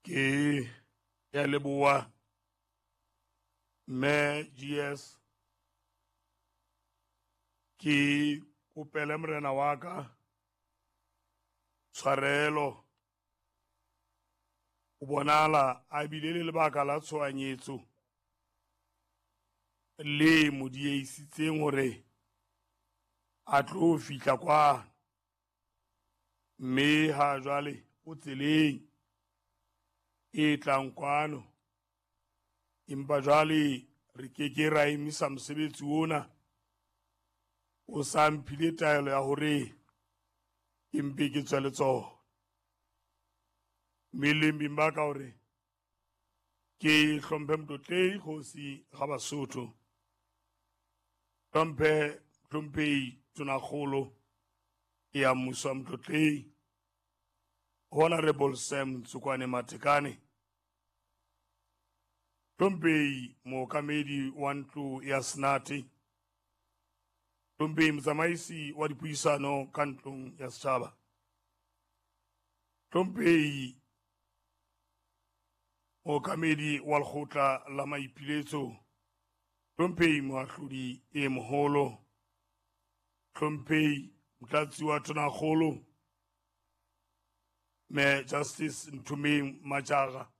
Ke ya leboha mme GS ke kopele morena wa ka tshwarelo o bonala a bile le lebaka la tshohanyetso le mo diehisitseng hore a tlo fihla kwano mme ha jwale o tseleng e tlang kwano empa jwale re ke ke ra emisa mosebetsi ona o sa mphile taelo ya hore ke mpe ke tswe le tsona mme leng beng ba ka hore ke hlomphe Motlotlei Kgosi ga Basotho hlomphe Hlomphei Tonakgolo ya mmuso wa Motlotlei Honorable Sam Tsokwane Matekane Hlomphei mookamedi wa ntlo ya Senate Hlomphei motsamaisi wa dipuisano ka ntlong ya setjhaba Hlomphei mookamedi wa lekgotla la maipiletso Hlomphei moahlodi e moholo Hlomphei motlatsi wa tonakgolo me Justice Nthumeng Majara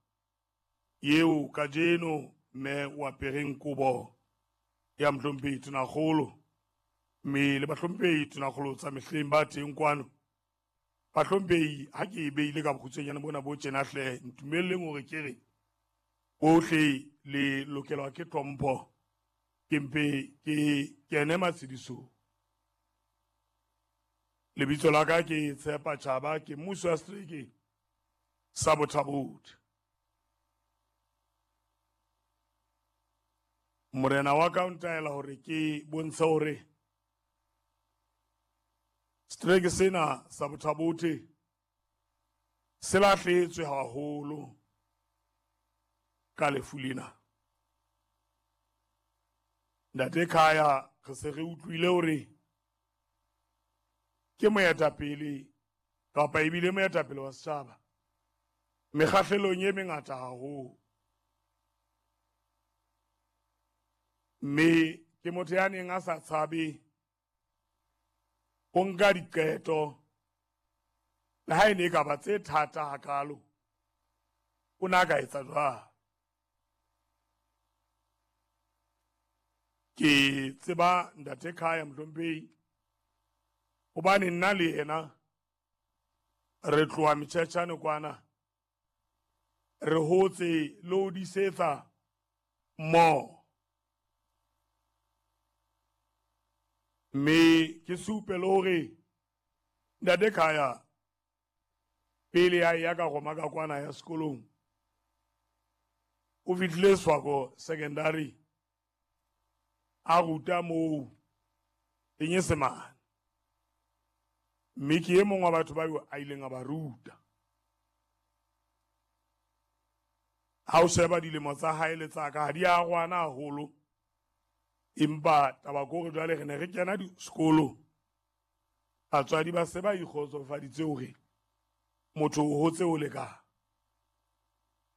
yeo kajeno mme o apereng kobo ya mohlomphehi tonakgolo mme le bahlomphehi tonakgolo tsa mehleng ba teng kwano bahlomphehi ha ke e beile ka bokgutshwanyane bona bo tjena hle ntumelleng hore ke re bohle le lokelwa ke tlhompho ke mpe ke kene matshedisong lebitso la ka ke Tshepa Tjhaba ke mmuso wa setereke sa Bothabothe morena wa ka o ntaela hore ke bontshe hore setereke sena sa Bothabothe se lahletswe haholo ka lefu lena ntate Khaya re se re utlwile hore ke moetapele kapa ebile moetapele wa setjhaba mekgahlelong e mengata haholo mme ke motho ya neng a sa tshabe ho nka diqeto le ha e ne e ka ba tse thata hakalo o ne a ka etsa jwang ke tseba ntate Khaya mohlomphehi hobane nna le yena re tloha metjhetjhane kwana re hotse le ho disetsa mmoho mme ke supe le hore ntate Khaya pele a ya ka goma ka kwana ya sekolong o fihlile Swako secondary a ruta moo Senyesemane mme ke e mongwe wa batho ba a ileng a ba ruta ha o sheba dilemo tsa hae le tsa ka ha di a rwana haholo empa taba ke hore jwale re ne re kena sekolo batswadi ba se ba ikgotsofaditse hore motho o hotse o le ka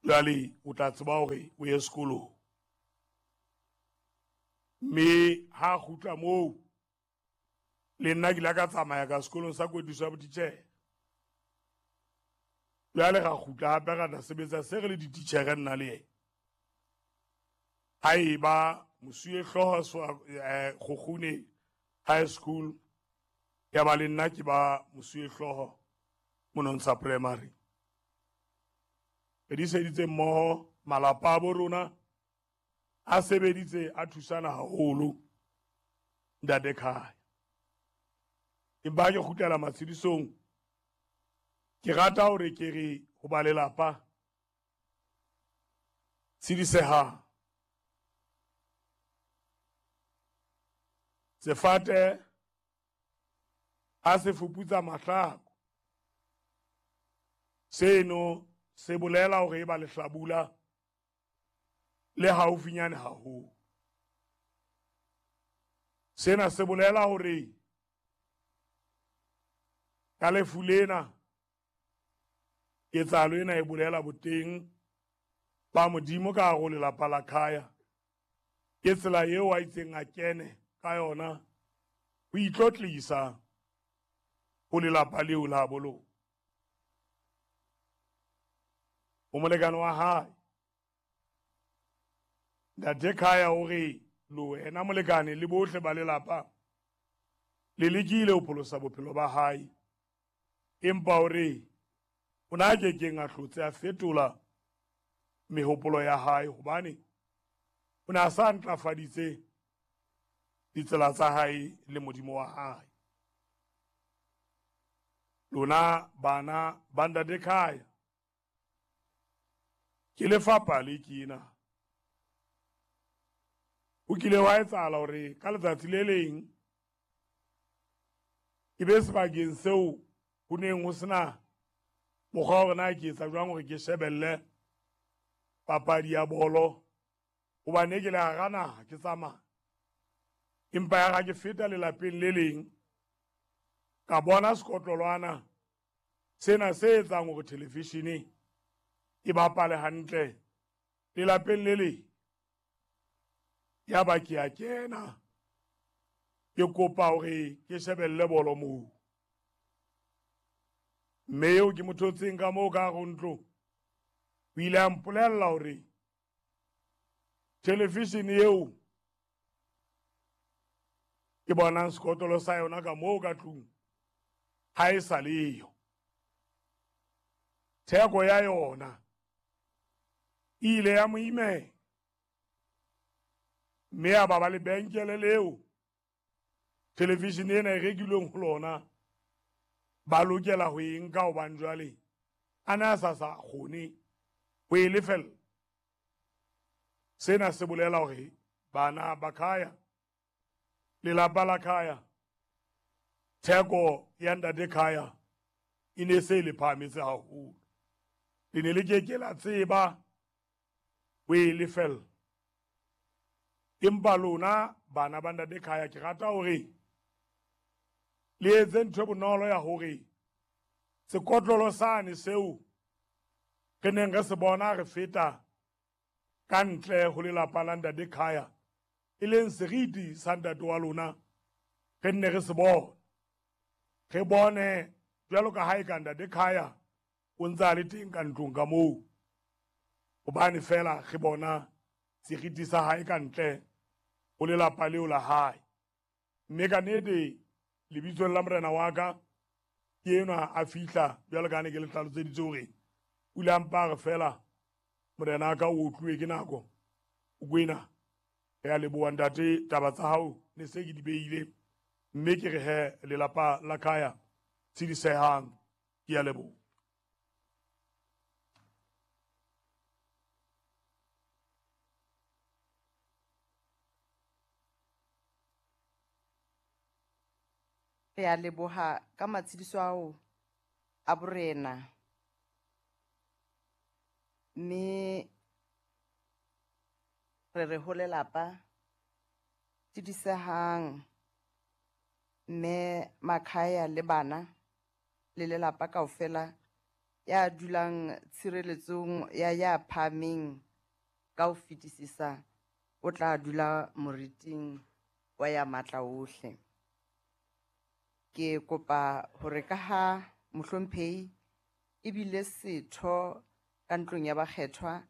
jwale o tla tseba hore o ye sekolong mme ha a kgutla moo le nna ke ile ka tsamaya ka sekolong sa kwetliso ya botitjhere jwale ra kgutla hape ra tla sebetsa se re le dititjhere nna le yena ha e ba mosuwe hlooho Kgokgune High School ya ba le nna ke ba mosuwe hlooho Monontsha Primary re diseditse mmoho malapa a bo rona a sebeditse a thusana haholo ntate Khaya empa ke kgutlela matshedisong ke rata hore ke re ho ba lelapa tshedisehang sefate a se fuputsa mahlako seno se bolela hore e ba lehlabula le haufinyane haholo sena se bolela hore ka lefu lena Ketsahalo ena e bolela boteng ba Modimo ka hare ho lelapa la Khaya. Ke tsela eo a itseng a kene ka yona ho itlotlisa ho lelapa leo la bolo. Ho molekane wa hae Ntate Khaya o re le wena molekane le bohle ba lelapa le lekile ho pholosa bophelo ba hae, empa o re o na ke keng a hlotse a fetola mehopolo ya hae hobane o ne a sa ntlafaditse ditsela tsa hae le Modimo wa hae. Lona bana ba Ntate Khaya, ke lefapha le kena. O kile wa etsahala hore ka letsatsi le leng ke be sebakeng seo ho neng ho sena mokgwa hore na ke etsa jwang hore ke shebelle papadi ya bolo, hobane ke le hara naha ke tsamaya. Empa ya ga ke feta lelapeng le leng ka bona sekotlolwana sena se etsang hore televishene e bapale hantle lelapeng le leng. Ya ba ke a kena ke kopa hore ke shebelle bolo moo, mme eo ke mo thotseng ka moo ka hare ntlo o ile a mpolella hore televishene eo ke bonang sekotlolo sa yona ka moo ka tlung ha e sa leyo. Theko ya yona e ile ya mo imela, mme a ba ba lebenkele leo televishene ena e rekilweng ho lona ba lokela ho e nka hobane jwale a ne a sa sa kgone ho e lefella. Sena se bolela hore bana ba Khaya, lelapa la Khaya, theko ya Ntate Khaya e ne se le phahametse haholo. Le ne le ke ke la tseba ho e lefella. Empa lona bana ba Ntate Khaya, ke rata hore le etse ntho e bonolo ya hore sekotlolo sane seo re neng re se bona re feta ka ntle ho lelapa la Ntate Khaya, e leng seriti sa ntate wa lona, re nne re se bone. Re bone jwalo ka ha e ka Ntate Khaya o ntse a le teng ka ntlong ka moo, hobane fela re bona seriti sa hae ka ntle ho lelapa leo la hae. Mme ka nnete lebitsong la morena wa ka ke enwa a fihla jwalo ka ha ne ke le hlaloseditse hore o ile a mpa re fela morena wa ka o otluwe ke nako. O kwena re a leboha ntate, taba tsa hao ne se ke di beile, mme ke re he lelapa la Khaya tshedisehang, ke a leboha. Re a leboha ka matshediso ao a borena, mme re re ho lelapa tshedisehang, mme Makhaya le bana le lelapa kaofela ya dulang tshireletsong ya ya phahameng ka ho fetisisa o tla dula moriting wa ya matla ohle. Ke kopa hore ka ha mohlomphehi ebile setho ka ntlong ya bakgethwa